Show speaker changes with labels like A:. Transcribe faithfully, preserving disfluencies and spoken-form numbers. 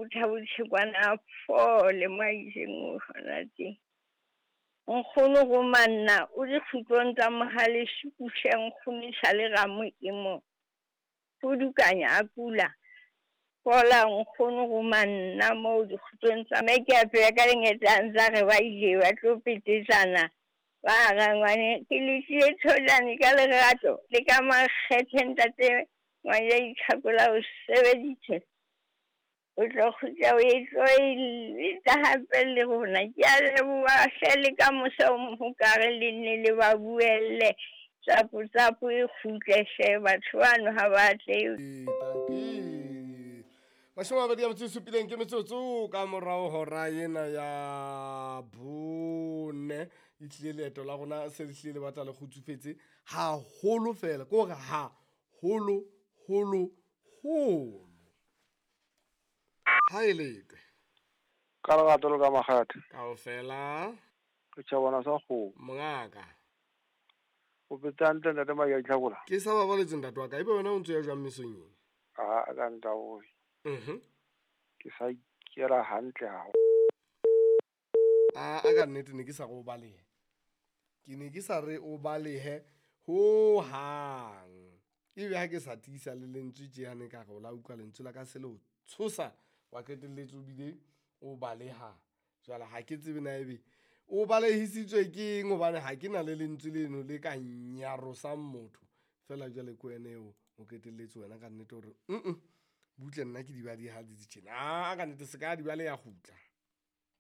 A: botha bothe kwana a fole mo a itseng o hona teng. Nkgono romanna o dikgutlong tsa mohale sukuhle nkgono e sale ramo e mo pudukanya a kula. Fola nkgono romanna moo dikgutlong tsa mme ke a phela ka lengetlang tsa re ba ile ba tlo petetsana. Ba rangwane ke le tlile tholane ka lerato le ka makgethe ntate ngwana itlhakola o sebeditse. O tlo kgutla o e tlo e letsa hape le rona. Ke a leboha hle le ka mosa o mohokare le nne le ba buelle. Tsapo tsapo e kgutle hle batho bano ha ba tle.
B: Tanki. Mashome a mabedi a metso e supileng ke metsotso ka morao hora ena ya bone. E tlile leeto la rona se le hlile le batla le kgutsufetse haholo fela. Ke hore haholo, holo, holo. Ha e letwe.
C: Ka lerato le ka makgethe.
B: Kaofela.
C: Ke tjhabana sa kgomo.
B: Mongaka.
C: O phetse hantle ntate Maki a Itlhakola?
B: Ke sa babaletse ntate wa ka. Ebe wena o ntso ya jwang mesong ena?
C: Ah, ka ntaoe.
B: Mhm.
C: Ke sa ikela hantle haholo.
B: Ah, a ka nnete ne ke sa re o balehe. Ke ne ke sa re o balehe ho hang. Ebe ha ke sa tiisa le lentswe tje hane ka re o la utlwa lentswe la ka se le o tshosa wa qetelletse o bile o baleha. Jwale ha ke tsebe na ebe o balehisitswe ke eng hobane ha ke na le lentswe leno le ka nyarosang motho. Feela jwale ke wena eo o qetelletse wena ka nnete hore mm butle nna ke di baleha di tjena. Ah, ka nnete se ka di baleha kgutla.